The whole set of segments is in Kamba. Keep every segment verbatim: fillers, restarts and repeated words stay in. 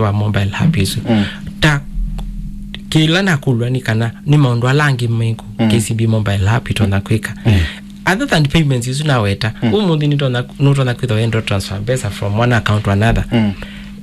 wa mobile app isu. Mm. Ta kĩla nakũlw'a nĩ kana nĩ maũndũ ala angĩ mekũ Mm. K C B mobile app ĩtonya kwĩka. Mm. Other than payments isu naweta, Mm. ũmũnthĩ nĩtonya, nũtonya kwĩthwa wenda transfer mbesa from one account to another. Mm.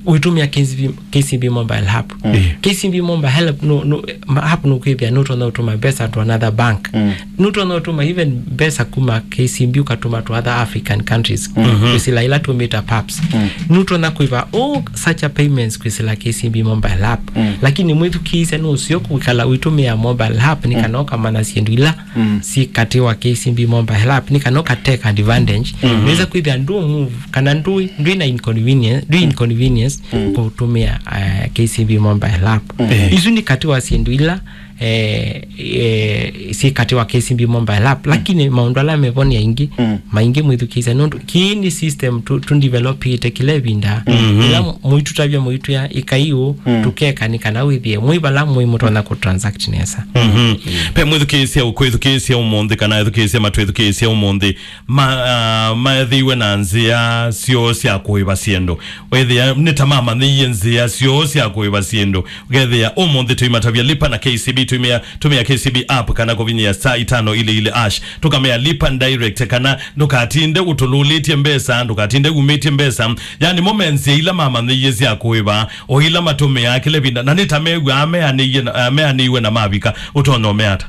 Ũitũmĩa K C B, K C B mobile app. Mm. K C B mobile help no, no, ma-, app nũkwĩthĩa nũtonya ũtũma mbesa to another bank. Mm. Nũtonya ũtũma even mbesa kuma K C B ũkatũma to other African countries. Mm-hmm. Kwĩsĩla ila tũmĩta paps. Mm. Nũtonya kũiva all such a payments kwĩsĩla K C B mobile app. Mm. Lakini mwĩthukĩĩsya nũseo kwĩkala ũitũmĩa mobile app nĩ Mm. kana ũkamanya syĩndũ ila Mm. syĩ katĩ wa K C B mobile app nĩ kana ũka take advantage. Mm-hmm. Nĩweza kwĩthĩa ndũ move kana ndũ, ndwĩ na inconvenience, ndwĩ inconvenience Mm. kũtũmĩa, eh, K C B mobile app. Mm. Isu nĩ katĩ wa syĩndũ ila eh, eh, syĩ katĩ wa K C B mobile app, lakini maũndũ ala mevo nĩ aingĩ, Mm. maingĩ mwĩthukĩĩsya, nũndũ kĩĩ nĩ system tu, tu developĩte kĩla ĩvinda. Mm-hmm. Ĩla mũitũtavya mũitwĩa ĩkai ũũ, Mm. tũkeka nĩ kana wĩthĩe mwĩ vala mwĩ mũtonya kũ transact nesa. Mm-hmm. Pe mwĩthukĩĩsya ũkwĩthukĩĩsya ũmũnthĩ, kana ethukĩĩsya matwĩthukĩĩsya ũmũnthĩ, ma, ah, maethĩiwe na nzĩa syoo sya kũĩva syĩndũ. Wethĩa nĩ ta mamanyĩie nzĩa syoo sya kũĩva syĩndũ. Ũkethĩa ũmũnthĩ tũimatavya lipa na K C B, tũimĩa, tũmĩa K C B app kana kũvinyĩa star itano ili ili hash. Tũkamea lipa direct kana ndũkatinde ũtũlũlĩtye mbesa, ndũkatinde umĩtye mbesa. Yani mo me nzĩa ila mamanyĩie sya kũĩva, o ila matũmĩaa kĩla ĩvinda. Na nĩ ta mew'aa meanĩie na, meanĩiwe na mavika, ũtonya ũmea ata?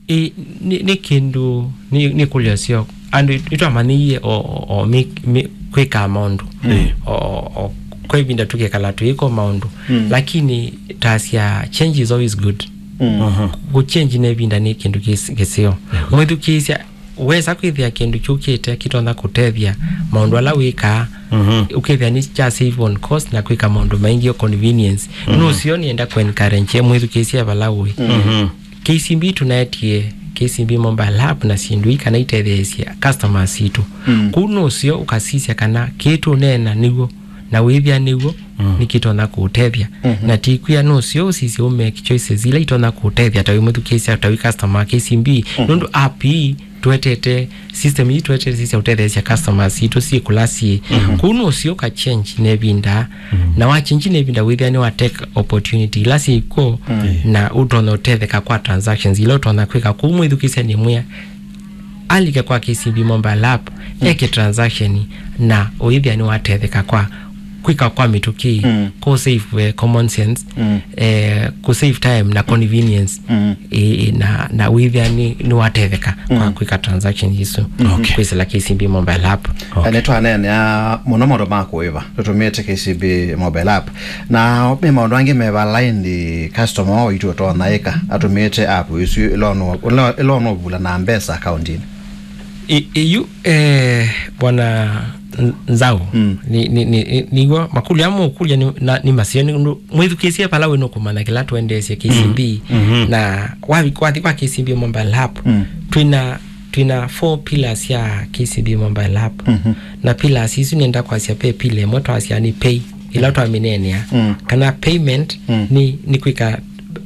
Ĩ, nĩ, nĩ kĩndũ, nĩ, nĩ kũlya syo. Andũ nĩtwamanyĩie o, o, o, mĩ, mĩ, kwĩkaa maũndũ. Mm. O, o, kwa ĩvinda tũkekala tũyĩko maũndũ. Mm. Lakini tasya change is always good. Mm. Aha. Kũ change na ĩvinda nĩ kĩndũ kĩs-, kĩseo. Mm. Mwĩthukĩĩsya, wesa kwĩthĩa kĩndũ kyũkĩte kĩtonya kũtethya maũndũ ala wĩkaa, Mhm. ũkethĩa nĩ kya save on cost na kwĩka maũndũ maingĩ o convenience. Mhm. Nũseo nĩenda kũ encourage mwĩthukĩĩsya vala ũĩ. Mhm. K C B tũnaetie K C B mobile app na syĩndũ ii kana itetheesye customers sitũ. Mm. Kũu nũseo ũkasisya kana kĩĩ tũneena nĩw'o, na wĩthĩa nĩw'o, Mm. nĩkĩtonya kũũtethya. Mhm. Na tikwĩa nũseo ũsisye ũ make choices ila itonya kũũtethya ta wĩ mwĩthukĩĩsya, ta wĩ customer wa K C B. Mhm. Nũndũ app ii twetete, system ii twetete sisya ũtetheesya customers sitũ syĩ kũla syĩ. Mhm. Kũu nũseo ũka change na ĩvinda. Mhm. Na wa change na ĩvinda wĩthĩa nĩ wa take opportunity ila syĩ kw'o, Mm. na ũtonya ũtetheka kwa transactions ila ũtonya kwĩka. Kũu mwĩthukĩĩsya nĩ mwĩa alike kwa K C B mobile app, Mm. eke transaction na ũithĩa nĩ watetheka kwa kwĩka kwa mĩtũkĩ, Mm. kũ save, eh, common sense, Mm. eh, kũ save time na convenience, Mm. eh, na, na ũithĩa nĩ, nĩ watetheka kwa Mm. kwĩka transaction isu. Okay. Kwĩsĩla K C B mobile app. Okay. Nĩ twaneenea mũno maũndũ ma kũĩva tũtũmĩĩte K C B mobile app. Na me maũndũ angĩ me vala ĩndĩ customer waitũ ũtonya ĩka atũmĩĩte app ĩsu ĩla ũnũ-, ĩla, ĩla ũnũvula na mbesa akauntinĩ? I-, iyu, eh, Bwana N-, Nzau, Mm. ni, ni, ni, ni, nĩw'o makũlyo amwe ũkũlya nĩ, na, nĩ maseo nĩ ũndũ mwĩthukĩĩsye vala wĩ nũkũmanya kĩla tũendeesye K C B, Mm. Mhm. na wathi, wathi kwa K C B mobile app, Mm. twĩna, twĩna four pillars sya K C B mobile app. Mhm. Na pillars isu nĩenda kwasya ve pillar ĩmwe twasya nĩ pay, ĩla twamĩneenea. Mm. Kana payment Mm. nĩ, nĩ kwĩka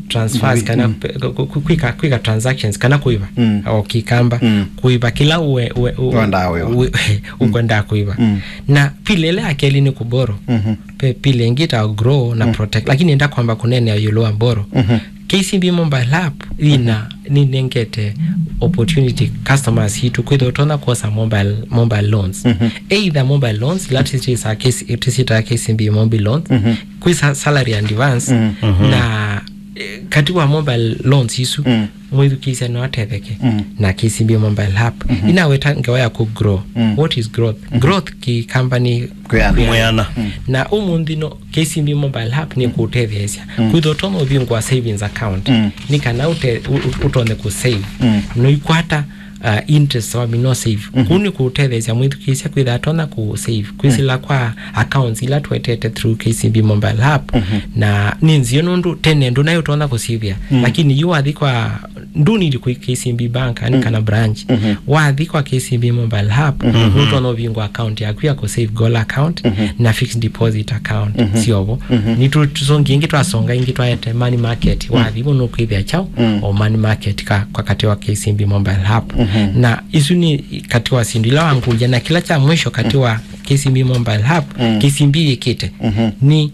transfers, Wi-, kana mm. pe-, ku-, ku-, kwĩka, kwĩka transactions, kana kũĩva. Mm. O Kĩkamba. Mm. Kũĩva kĩla ũe-, ũe-, ũe-, Wendaa wĩva. ũe-, Mm. ũkwendaa kũĩva. Mm. Na pillar ĩla ya kelĩ nĩ kũborrow. Mhm. Ve pillar ĩngĩ ta grow na Mm. protect. Lakini nĩenda kwamba kũneenea ĩũlũ wa borrow. Mhm. K C B mobile app ĩna nĩnengete opportunity customers sitũ kwĩthwa ũtonya kwosa mobile, mobile loans. Mhm. Either mobile loans, ila tũsyĩtaa K C, tũsyĩtaa K C B mobile loans, Mhm. kwĩ sa-, salary advance, Mhm. na, eh, katĩ wa mobile loans isu, Mm. mwĩthukĩĩsya no atetheke Mm. na K C B mobile app. Mhm. Inaweta ngewa ya kũ grow. Mm. What is growth? Mhm. Growth Kĩkamba nĩ Kwĩana. Kwĩana. Mm. Na ũmũnthĩ no K C B mobile app nĩ kũũtetheesya. Mm. Kwĩthwa ũtonya ũvingũa savings account. Mm. Nĩ kana ũte-, ũ-, ũ-, ũtonye kũ save. Mm. Noikwata, uh, interest wa mino save. Mm-hmm. Kũu nĩ kũũtetheesya mwĩthukĩĩsya kwĩtha atonya kũ save. Kwĩsĩla Mm. kwa accounts ila twetete through K C B mobile app. Mm-hmm. Na nĩ nzeo nũndũ tene ndũnaĩ ũtonya kũsivia. Mm. Lakini yu wathi kwa ndũnidi kwĩ K C B Bank, yani Mm. kana branch. Mhm. Wathi kwa K C B mobile app, Mhm. nũtonya ũvingũa account yaku ya kũ save goal account Mhm. na fixed deposit account. Mhm. Syovo. Mhm. Nĩtũsongi ĩngĩ twasonga ĩngĩ twaete money market. Mm. Wathi vo nũkwĩthĩa chao Mm. o money market ka, kwa katĩ wa K C B mobile app. Mhm. Na isu nĩ katĩ wa syĩndũ ila wangũlya na kĩla kya mwisho katĩ wa K C B mobile app, Mm. K C B yĩkĩte. Mhm. Nĩ